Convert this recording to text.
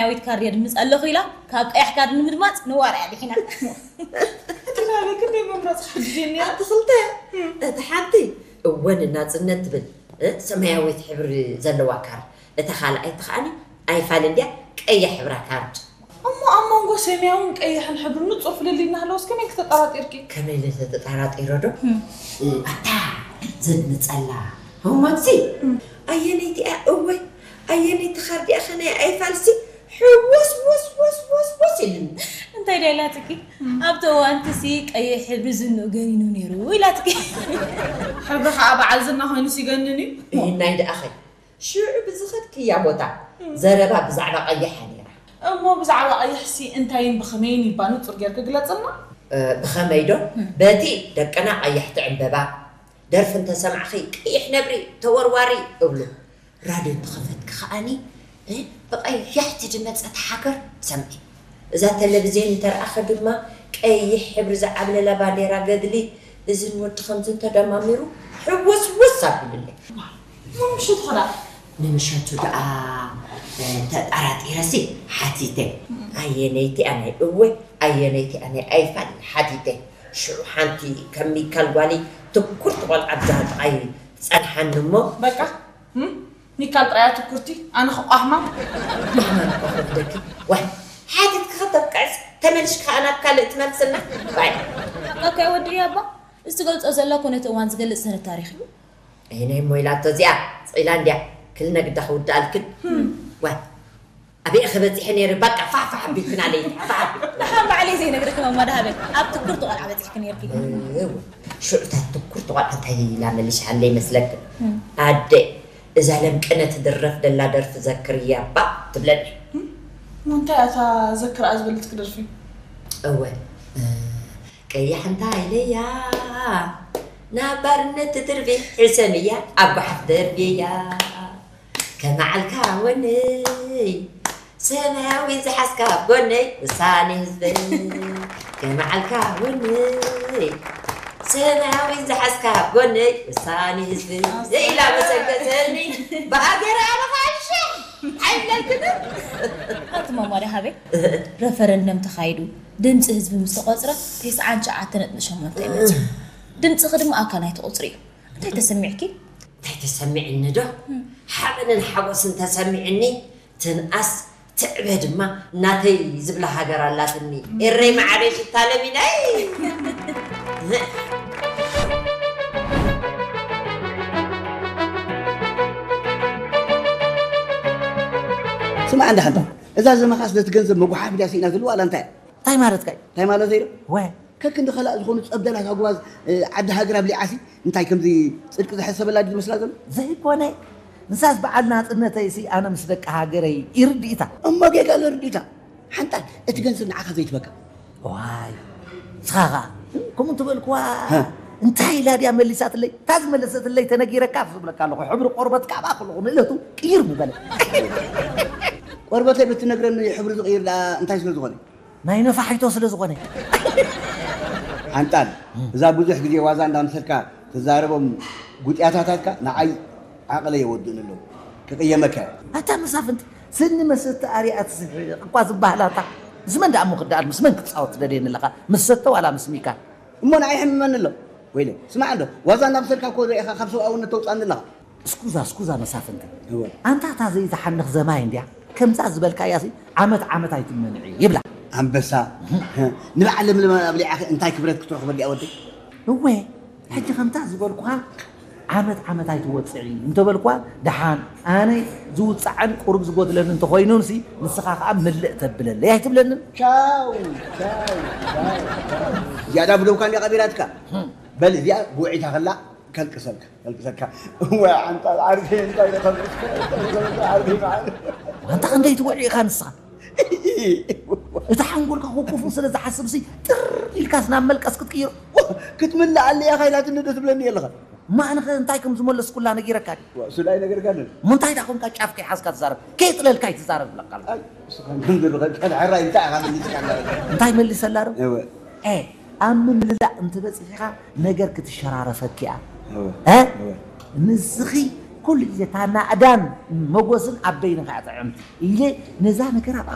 ሰማያዊት ካርድ የድምፅ ኣለኹ ኢላ ካብ ቀያሕ ካርድ ንምድማፅ ንዋር እያ ድሒና። እቲ ናበይ ክንደይ መምረፂ ሓጊዘኒ እያ። ኣቲ ክልተ እቲ ሓንቲ እወ ንናፅነት ትብል እ፣ ሰማያዊት ሕብሪ ዘለዋ ካርድ፣ እታ ካልኣይቲ ከዓኒ ኣይፋል እንድያ ቀያ ሕብራ ካርድ። እሞ ኣብ መንጎ ሰማያውን ቀይሕን ሕብሪ ንፁር ፍልልይ እናሃለወስ ከመይ ክተጠራጢርኪ? ከመይ ኢለ ተጠራጢረ ዶ? እ፣ ኣታ ዘድምፀላ ህሞትሲ ኣየነይቲ እያ እወ ኣየነይቲ ካርድ እያ ከናይ ኣይፋልሲ ሕውስ ውስ ውስ ውስ ውስ ኢልኒ። እንታይ ድያ ኢላትኪ? ኣብቲ እዋንቲ ሲ ቀይሕ ሕብሪ ዝንኡ ገኒኑ ነይሩ ኢላትኪ። ሕብሪ ከዓ በዓል ዝና ኮይኑ ሲገንን እዩ። እሂናይ ደኣኸ ሽዑ ብዝኸድክያ ቦታ ዘረባ ብዛዕባ ቀይሓ ነይራ። እሞ ብዛዕባ ቀይሕሲ እንታይን ብኸመይን ይባ ንፁር ጌርኪ ግለፅልና። ብኸመይ ዶ? በቲ ደቅና ቀያሕቲ ዕምበባ ደርፊ እንተሰማዕኺ ቀይሕ ነብሪ ተወርዋሪ እብሉ። ራድዮ እንተኸፈትኪ ከዓኒ እ፣ ብቐያሕቲ ዝመጸት ሃገር ትሰምዒ። እዛ ተለቪዝዮን እንተረኣኸ ድማ ቀይሕ ሕብሪ ዝዓብለላ ባንዴራ ገድሊ እዝን ወዲ ከምዚ እንተደማሚሩ ሕውስውስ ኣቢሉለይ። ንምሸቱ ኸዳ ንምሸቱ ደኣ እ፣ ተጠራጢረሲ ሓቲተ ኣየነይቲ ኣነ እወ ኣየነይቲ ኣነ ኣይፋል ሓቲተ ሽዑ ሓንቲ ከም ሚካል ጓሊ ትኩርቲ ቆልዓ ብጃሃ ጥቓይ ጸንሓኒ እሞ በቃ ሚካል ጥራያ ትኩርቲ ኣነ ክቋህማ። ማሕማም ኮፍ ደኪ ዋይ ሓቲትኪ ከተብቅዕስ ተመልሽ ከኣ ናብ ካልእ ትመልስና ዋይ ኣካ ወዲ ያባ እዚ ትገልጾ ዘለኩ ነቲ እዋን ዝገልጽ ሰነድ ታሪኽ እዩ። ይነይ እሞ ኢላቶ እዚኣ ስቕ ኢላ እንድያ ክልነ ግዳ ክውድኣልክን ዋይ ኣበይ ኢኺ በጺሐ ነይረ በቃ ፋሕፋሕ ኣቢልክና ለይቲ ፋሕ ኣቢልክና። ደሓን ባዕለይ ዘይነግረኪ ማማ ደሃበይ ኣብ ትኩርቲ ቆልዓ በጺሕኪ ነይርኪ። እወ ሽዑ እታ ትኩርቲ ቆልዓ እንታይ ኢላ መሊሻ ሃለ ይመስለክን ኣደ እዛ ለምቅነ ትድረፍ ደላ ደርፊ ዘክርያ እባ ትብለኒ። እሞ እንታይ እያ እታ ዘክርኣ ዝበለትኪ ደርፊ? እወ ቀያሕ እንታይ ኢለያ ናብ ባርነት ትድርቢ ሕሰምያ ኣብ ጓሓፍ ደርብያ ከመዓልካ ወነይ ሰማያዊ ዝሓዝካ ኣብ ጎነይ ውሳኔ ህዝበይ ከመዓልካ ወነይ ሰማያዊ ዝሓዝካ ኣብ ጎነይ ውሳኔ ህዝበይ ኢላ መሰገሰኒ ብሃገር ኣበኻልሻ ኣይብለልክን ኣቲ ማማ ደሃበይ ረፈረንደም ተኻይዱ ድምፂ ህዝቢ ምስ ተቖፅረ ተስዓን ትሽዓተ ነጥቢ ሸሞንተ እዩ መፂኡ ድምፅኺ ድማ ኣካል ናይቲ ቁፅሪ እዩ እንታይ ተሰሚዕኪ እንታይ ተሰሚዕኒ ዶ ሓበንን ሓጎስን ተሰሚዕኒ ትንኣስ ትዕበ ድማ ናተይ ዝብላ ሃገር ኣላትኒ ኤረይ መዓረይ ሽታ ለሚነይ ስማዕ እንዳ ሓንታ እዛ ዘመኻስ ነቲ ገንዘብ መጉሓፍ ድያ ስኢና ዝልዋ ኣላ እንታይ እንታይ ማለትካ እዩ እንታይ ማለት እዩ ወ ከክንዲ ከላእ ዝኾኑ ጸብደላት ኣጉባዝ ዓዲ ሃገር ኣብሊዓሲ እንታይ ከምዚ ጽድቂ ዝሐሰበላ ድዩ ዝመስላ ዘሎ ዘይኮነ ንሳስ በዓል ናጽነተይሲ ኣነ ምስ ደቂ ሃገረይ ይርድኢታ እሞ ጌጋ ዘርድኢታ ሓንጣል እቲ ገንዘብ ንዓኻ ዘይትበካ ዋይ ንስኻ ኸዓ ከምኡ እንተበልክዋ እንታይ ኢላ ድያ መሊሳትለይ እታ ዝመለሰትለይ ተነጊረካ ዝብለካ ኣለኹ ሕብሪ ቆርበት ካባ ከለኹ ንእለቱ ቅይር ምበለ ቆርበተይ ብትነግረኒ ሕብሪ ዝቕይር ደኣ እንታይ ስለ ዝኾነ ናይ ነፋሒቶ ስለ ዝኾነ። ሓንጣል እዛ ብዙሕ ግዜ ዋዛ እንዳምሰልካ ትዛረቦም ጉጥያታታትካ ንዓይ ዓቕለይ የወድኡኒ ኣለዉ። ክቕየመካ እየ። ኣታ መሳፍንቲ ስኒ መሰተ ኣርያ ትስሕቕ እኳ ዝበሃል ኣታ ምስ መን ደኣ እሞ ክደኣል ምስ መን ክትጻወት ትደልየኒ ኣለኻ ምስ ሰተ ዋላ ምስ ሚካ? እሞ ንዓይ ይሕምመኒ ኣሎ ወይለይ። ስማዕ እንዶ ዋዛ እንዳምሰልካ እኮ ርኢኻ ካብ ሰብኣውነት ተውጽኣኒ ኣለኻ። እስኩዛ እስኩዛ መሳፍንቲ እወ ኣንታ እታ ዘይትሓንኽ ዘማይ እንድያ ከምዛ ዝበልካያሲ ዓመት ዓመት ኣይትመንዒ ይብላ ኣንበሳ ንበዓል ለምለም ኣብሊዓኺ እንታይ ክብረት ክትረኽበሉ እያ ወደይ እወ ሕጂ ከምታ ዝበልኩኻ ዓመት ዓመት ኣይትወፅዒ እንተበልኩዋ ደሓን ኣነ ዝውፃዕን ቁሩብ ዝጎድለኒ እንተኾይኑንሲ ንስኻ ከዓ ምልእ ተብለለይ ኣይትብለንን ቻው ቻው ቻው ዝያዳ ብደውካ እንዲያ ቀቢራትካ በል እዚኣ ብውዒታ ከላ ከልቅሰልካ ከልቅሰካ ወይ ዓንጣ ዓርቢ እንታይ ከልቅስካ ዓርቢ መዓር ዋንታ ክንደይ ትውዒ ኢኻ ንስኻ እቲ ሓንጎልካ ኮኮፉ ስለ ዝሓስብሲ ጥር ኢልካስ ናብ መልቀስ ክትቅይሮ ክትምልእ ኣለያ ካይላትኒ ዶ ትብለኒ ኣለኻ እማ ኣነኸ እንታይ ከም ዝመለስኩላ ነጊረካ ድዩ ዋ፣ እሱ ዳይ ነገር ጋር እሞ እንታይ ዳ ኮንካ ጫፍ ከይሓዝካ ትዛረብ ከየጥለልካ ይትዛረብ ብለካ ኣሎ ኣይ፣ ንስኻ ግን ዝርኸብካ ድሕራይ እንታይ ኢኻ መሊስካ ኣለኻ እንታይ መሊሰላ ዶ እወ ኤ ኣብ ምምላእ እንተበፂሕኻ ነገር ክትሸራረፈኪ እያ እወ እ? እወ ንስኺ ኩሉ ግዜ እታ ናእዳን መጎስን ኣበይን ከኣ ጥዕምቲ ኢለ ነዛ ነገር ኣብ